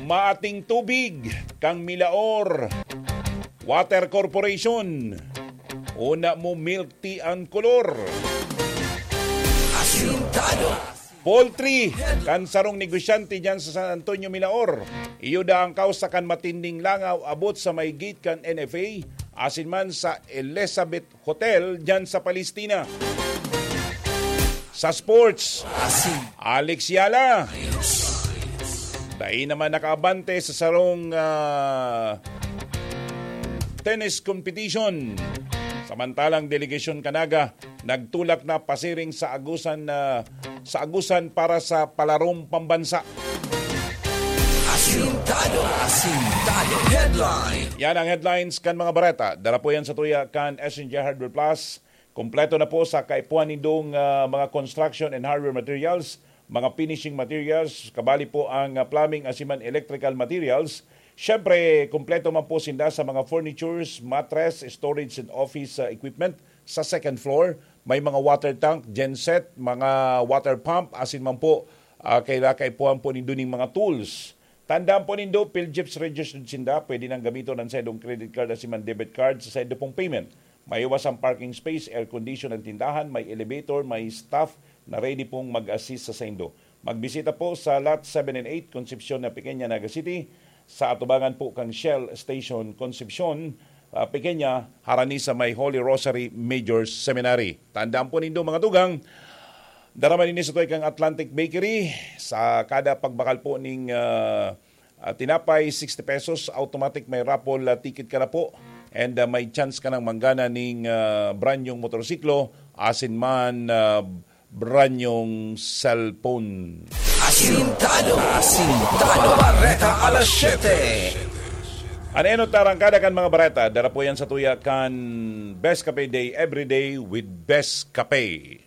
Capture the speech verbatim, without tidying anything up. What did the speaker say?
Maating tubig kan Milaor Water Corporation. Una mo milk tea an kolor. Asintado. Poultry kan sarong negosyante diyan sa San Antonio, Milaor. Iyo daa an kawsa kan matinding langaw abot sa may gate kan N F A, asin man sa Elizabeth Hotel diyan sa Palestina. Sa sports, Asin. Alex Yala. Dai naman nakaabante sa sarong, ah, tennis competition. Samantalang delegasyon kan Naga nagtulak na pasiring sa Agusan, ah, sa Agusan para sa palarong pambansa. Asintado. Asintado. Headline. Yan ang headlines kan mga bareta. Dara po yan sa tuya kan S N J Hardware Plus. Kompleto na po sa kaipuhan nindong, ah, mga construction and hardware materials, mga finishing materials, kabali po ang, ah, plumbing asin man electrical materials. Siyempre, kompleto man po sinda sa mga furnitures, mattress, storage and office, ah, equipment sa second floor. May mga water tank, genset, mga water pump, asin man po, ah, kaila kaipuhan po nindo ning mga tools. Tandaan po nindo, PhilGEPS registered sinda, pwede nang gamiton ang saindong credit card asin man debit card sa saindo pong payment. May iwas ang parking space, air condition ang tindahan, may elevator, may staff na ready pong mag-assist sa saindo. Magbisita po sa Lot seven and eight, Concepcion na Pequeña, Naga City, sa atubangan po kan Shell Station Concepcion, ah, Pequeña, harani sa may Holy Rosary Major Seminary. Tandaan po nindo, mga tugang, dara man ini sa tuway kang Atlantic Bakery. Sa kada pagbakal po ning, ah, ah, tinapay, sixty pesos, automatic may raffle, ah, ticket ka na po. And, ah, may chance ka nang manggana ning, ah, brand nyong motorsiklo, asin man, ah, brand nyong cellphone. Asintado. Asintado. Bareta alas siyete. An enot na arangkada kan mga bareta, dara po yan sa tuya kan Best Kape Day, every day with Best Kape.